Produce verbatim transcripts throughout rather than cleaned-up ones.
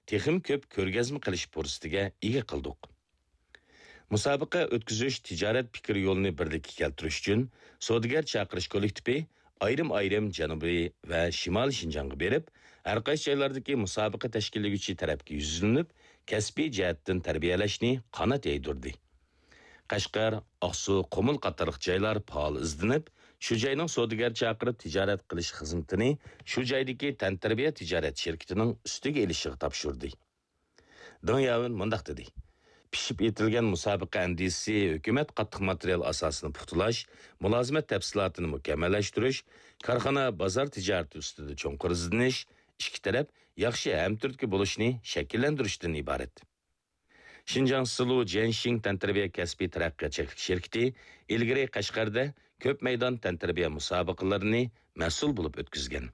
تېخىمۇ كۆپ كۆرگەزمە قىلىش پۇرسىتىگە ئىگە قىلدۇق. مۇسابىقە ئۆتكۈزۈش تىجارەت پىكىر يولىنى بىرلىككە كەلتۈرۈش ئۈچۈن سودىگەر چاقىرىش كوللېكتىپى ئايرىم-ئايرىم جەنۇبىي ۋە شىمالىي شىنجاڭغا بېرىپ، ھەرقايسى جايلاردىكى مۇسابىقە تەشكىللىگۈچى تەرەپكە يۈزلىنىپ، كەسپىي جەھەتتىن تەربىيەلەشنى قانات يايدۇردى. قەشقەر، ئاقسۇ، قۇمۇل قاتارلىق جايلار پائال ئىزدىنىپ، شۇ جاينىڭ سودىگەر چاقىرىپ تىجارەت قىلىش خىزمىتىنى شۇ جايدىكى تەنتەربىيە تىجارەت شىركىتىنىڭ ئۈستىگە ئېلىشىغا تاپشۇردى. دېڭ ياۋېن مۇنداق دېدى: پىشىپ يېتىلگەن مۇسابىقە ئەندىزىسى ھۆكۈمەت قاتتىق ماتېرىيال ئاساسىنى پۇختىلاش، مۇلازىمەت تەپسىلاتىنى مۇكەممەللەشتۈرۈش، كارخانا بازار تىجارىتى ئۈستىدە چوڭقۇر ئىزدىنىش، ئىككى تەرەپ ياخشى ھەمتۈرتكە بولۇشنى شەكىللەندۈرۈشتىن ئىبارەت. شىنجاڭ سىلۇ جيەنشىڭ تەنتەربىيە كەسپىي تەرەققىيات چەكلىك شىركىتى ئىلگىرى قەشقەردە كۆپ مەيدان تەنتەربىيە مۇسابىقىلىرىنى مەسئۇل بولۇپ ئۆتكۈزگەن.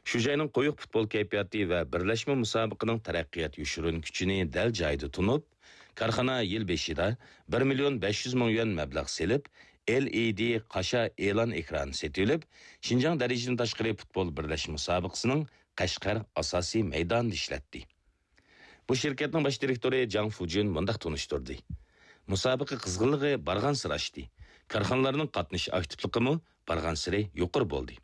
شۇ جاينىڭ قويۇق پۇتبول كەيپىياتى ۋە بىرلەشمە مۇسابىقىنىڭ تەرەققىيات يوشۇرۇن كۈچىنى دەل جايىدا تونۇپ، كارخانا يىل بېشىدا بىر مىليون بەش يۈز مىڭ يۈەن مەبلەغ سېلىپ، ئېل ئى دى قاشا ئېلان ئېكرانى سېتىۋېلىپ، شىنجاڭ دەرىجىدىن تاشقىرى پۇتبول بىرلەشمە مۇسابىقىسىنىڭ قەشقەر ئاساسىي مەيدانىدا ئىشلەتتى. بۇ شىركەتنىڭ باش دىرېكتورى جاڭ فۇجۈن مۇنداق تونۇشتۇردى: مۇسابىقە قىزغىنلىقى بارغانسېرى ئاشتى، كارخانىلارنىڭ قاتنىشىش ئاكتىپلىقىمۇ بارغانسېرى يۇقىرى بولدى.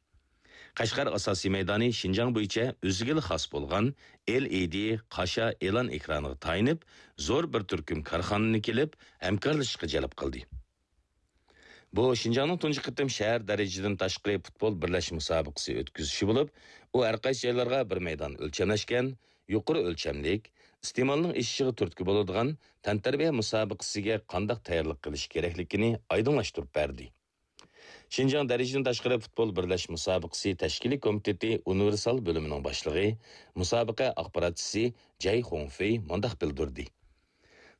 قەشقەر ئاساسىي مەيدانى شىنجاڭ بويىچە ئۆزىگىلا خاس بولغان ئېل ئى دى قاشا ئېلان ئېكرانىغا تايىنىپ، زور بىر تۈركۈم كارخانىنى كېلىپ ھەمكارلىشىشقا جەلپ قىلدى. بۇ شىنجاڭنىڭ تۇنجى قېتىم شەھەر دەرىجىدىن تاشقىرى پۇتبول بىرلەشمە مۇسابىقىسى ئۆتكۈزۈشى بولۇپ، ئۇ ھەرقايسى جايلارغا بىر مەيدان ئۆلچەملەشكەن، يۇقىرى ئۆلچەملىك، ئىستېمالنىڭ ئېشىشىغا تۈرتكە بولىدىغان تەنتەربىيە مۇسابىقىسىگە قانداق تەييارلىق قىلىش كېرەكلىكىنى ئايدىڭلاشتۇرۇپ بەردى. شىنجاڭ دەرىجىدىن تاشقىرى پۇتبول بىرلەشمە مۇسابىقىسى تەشكىلىي كومىتېتى ئۇنىۋېرسال بۆلۈمىنىڭ باشلىقى، مۇسابىقە ئاخباراتچىسى جەي خۇڭفېي مۇنداق بىلدۈردى: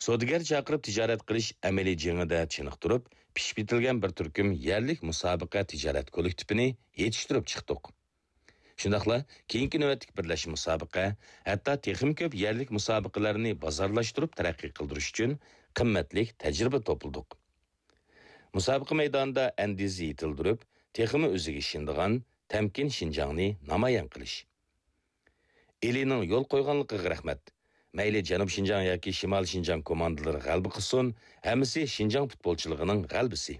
سودىگەر چاقىرىپ تىجارەت قىلىش ئەمەلىي جېڭىدە چېنىقتۇرۇپ، پىشىپ يېتىلگەن بىر تۈركۈم يەرلىك مۇسابىقە تىجارەت كوللېكتىپىنى يېتىشتۈرۈپ چىقتۇق. شۇنداقلا كېيىنكى نۆۋەتلىك بىرلەشمە مۇسابىقە، ھەتتا تېخىمۇ كۆپ يەرلىك مۇسابىقىلەرنى بازارلاشتۇرۇپ تەرەققىي قىلدۇرۇش ئۈچۈن قىممەتلىك تەجرىبە توپلىدۇق. مۇسابىقە مەيدانىدا ئەندىزە يېتىلدۈرۈپ، تېخىمۇ ئۆزىگە ئىشىنىدىغان تەمكىن شىنجاڭنى نامايان قىلىش. ئىلىنىڭ يول قويغانلىقىغا رەھمەت. مەيلى جەنۇب شىنجاڭ ياكى شىمالىي شىنجاڭ كوماندىلىرى غەلىبە قىلسۇن، ھەممىسى شىنجاڭ پۇتبولچىلىقىنىڭ غەلىبىسى.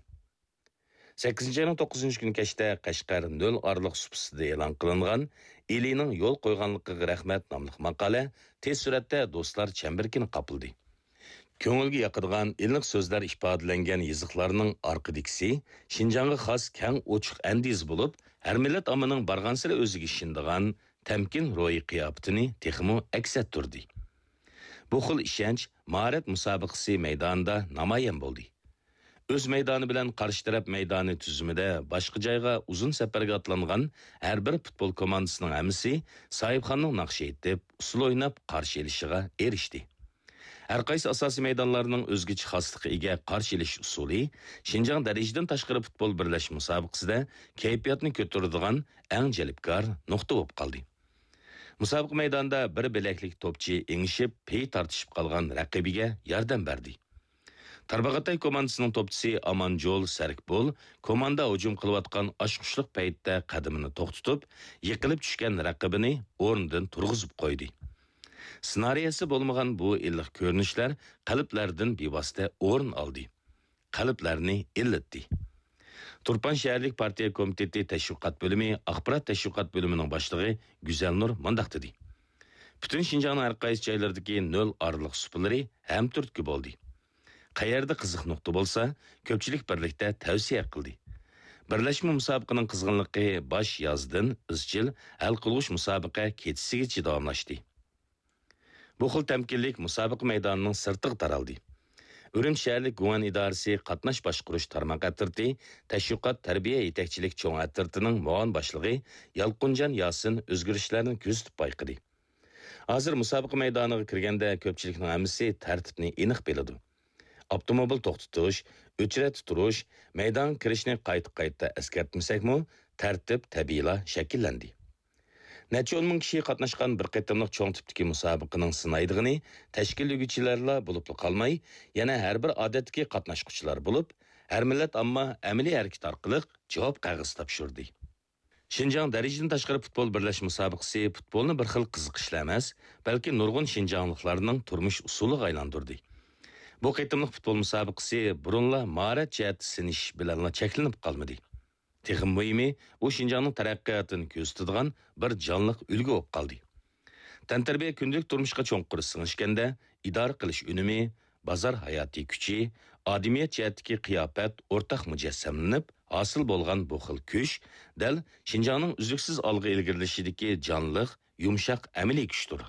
سەككىزىنچى ئاينىڭ توققۇزىنچى كۈنى كەچتە قەشقەر نۆل ئارىلىق سۇپىسىدا ئېلان قىلىنغان ئىلىنىڭ يول قويغانلىقىغا رەھمەت ناملىق ماقالە تېز سۈرئەتتە دوستلار چەمبىرىكىنى قاپلىدى. كۆڭۈلگە ياقىدىغان ئىللىق سۆزلەر ئىپادىلەنگەن يېزىقلارنىڭ ئارقىدىكىسى شىنجاڭغا خاس كەڭ ئوچۇق ئەندىزە بولۇپ، ھەر مىللەت ئاممىنىڭ بارغانسېرى ئۆزىگە ئىشىنىدىغان تەمكىن روھىي قىياپىتىنى تېخىمۇ ئەكس ئەتتۈردى. بۇ خىل ئىشەنچ ماھارەت مۇسابىقىسى مەيدانىدا نامايان بولدى. ئۆز مەيدانى بىلەن قارشى تەرەپ مەيدانى تۈزۈمىدە باشقا جايغا ئۇزۇن سەپەرگە ئاتلانغان ھەر بىر پۇتبول كوماندىسىنىڭ ھەممىسى ساھىبخاننىڭ ناخشا ئېيتىپ، ئۇسسۇل ئويناپ قارشى ئېلىشىغا ئېرىشتى. ھەرقايسى ئاساسىي مەيدانلارنىڭ ئۆزگىچە خاسلىققا ئىگە قارشى ئېلىش ئۇسۇلى شىنجاڭ دەرىجىدىن تاشقىرى پۇتبول بىرلەشمە مۇسابىقىسىدە كەيپىياتنى كۆتۈرىدىغان ئەڭ جەلپكار نۇقتا بولۇپ قالدى. مۇسابىقە مەيدانىدا بىر بىلەكلىك توپچى ئېڭىشىپ، پېي تارتىشىپ قالغان رەقىبىگە ياردەم بەردى. تارباغاتاي كوماندىسىنىڭ توپچىسى ئامانجول سەركبول كوماندا ھۇجۇم قىلىۋاتقان ئاچقۇچلۇق پەيتتە قەدىمىنى توختىتىپ، يىقىلىپ چۈشكەن رەقىبىنى ئورنىدىن تۇرغۇزۇپ قويدى. سېنارىيەسى بولمىغان بۇ ئىللىق كۆرۈنۈشلەر قەلبلەردىن بىۋاسىتە ئورۇن ئالدى. قەلبلەرنى ئىللىتتى. تۇرپان شەھەرلىك پارتىيە كومىتېتى تەشۋىقات بۆلۈمى ئاخبارات تەشۋىقات بۆلۈمىنىڭ باشلىقى گۈزەلنۇر مۇنداق دېدى: پۈتۈن شىنجاڭنىڭ ھەرقايسى جايلىرىدىكى نۆل ئارىلىق سۇپىلىرى ھەمتۈرتكە بولدى. قەيەردە قىزىق نۇقتا بولسا، كۆپچىلىك بىرلىكتە تەۋسىيە قىلدى. بىرلەشمە مۇسابىقىنىڭ قىزغىنلىقى باش يازدىن ئىزچىل ھەل قىلغۇچ مۇسابىقە كېچىسىگىچە داۋاملاشتى. بۇ خىل تەمكىنلىك مۇسابىقە مەيدانىنىڭ سىرتىغا تارالدى. ئۈرۈمچى شەھەرلىك گۇڭئەن ئىدارىسى قاتناش باشقۇرۇش تارماق ئەترىتى تەشۋىقات تەربىيە يېتەكچىلىك چوڭ ئەترىتىنىڭ مۇئاۋىن باشلىقى يالقۇنجان ياسىن ئۆزگىرىشلەرنى كۆزىتىپ بايقىدى. ھازىر مۇسابىقە مەيدانىغا كىرگەندە كۆپچىلىكنىڭ ھەممىسى تەرتىپنى ئېنىق بىلىدۇ. ئاپتوموبىل توختىتىش، ئۆچرەتتە تۇرۇش، مەيدانغا كىرىشنى قايتا-قايتا ئەسكەرتمىسەكمۇ، تەرتىپ تەبىئىيلا شەكىللەندى. نەچچە ئون مىڭ كىشى قاتناشقان بىر قېتىملىق چوڭ تىپتىكى مۇسابىقىنىڭ سىنايدىغىنى تەشكىللىگۈچىلەرلا بولۇپلا قالماي، يەنە ھەر بىر ئادەتتىكى قاتناشقۇچىلار بولۇپ، ھەر مىللەت ئامما ئەمەلىي ھەرىكەت ئارقىلىق جاۋاب قەغىزى تاپشۇردى. شىنجاڭ دەرىجىدىن تاشقىرى پۇتبول بىرلەشمە مۇسابىقىسى پۇتبولنى بىر خىل قىزىقىشلا ئەمەس، بەلكى نۇرغۇن شىنجاڭلىقلارنىڭ تۇرمۇش ئۇسۇلىغا ئايلاندۇردى. بۇ قېتىملىق پۇتبول مۇسابىقىسى بۇرۇنلا ماھارەت جەھەتتە سىنىش بىلەنلا چەكلىنىپ قالمىدى. تېخىمۇ مۇھىمى، ئۇ شىنجاڭنىڭ تەرەققىياتىنى كۆرسىتىدىغان بىر جانلىق ئۈلگە بولۇپ قالدى. تەنتەربىيە كۈندىلىك تۇرمۇشقا چوڭقۇر سىڭىشكەندە، ئىدارە قىلىش ئۈنۈمى، بازار ھاياتىي كۈچى، ئادىمىيەت جەھەتتىكى قىياپەت ئورتاق مۇجەسسەملىنىپ، ھاسىل بولغان بۇ خىل كۈچ دەل شىنجاڭنىڭ ئۈزلۈكسىز ئالغا ئىلگىرىلىشىدىكى جانلىق، يۇمشاق ئەمەلىي كۈچتۇر.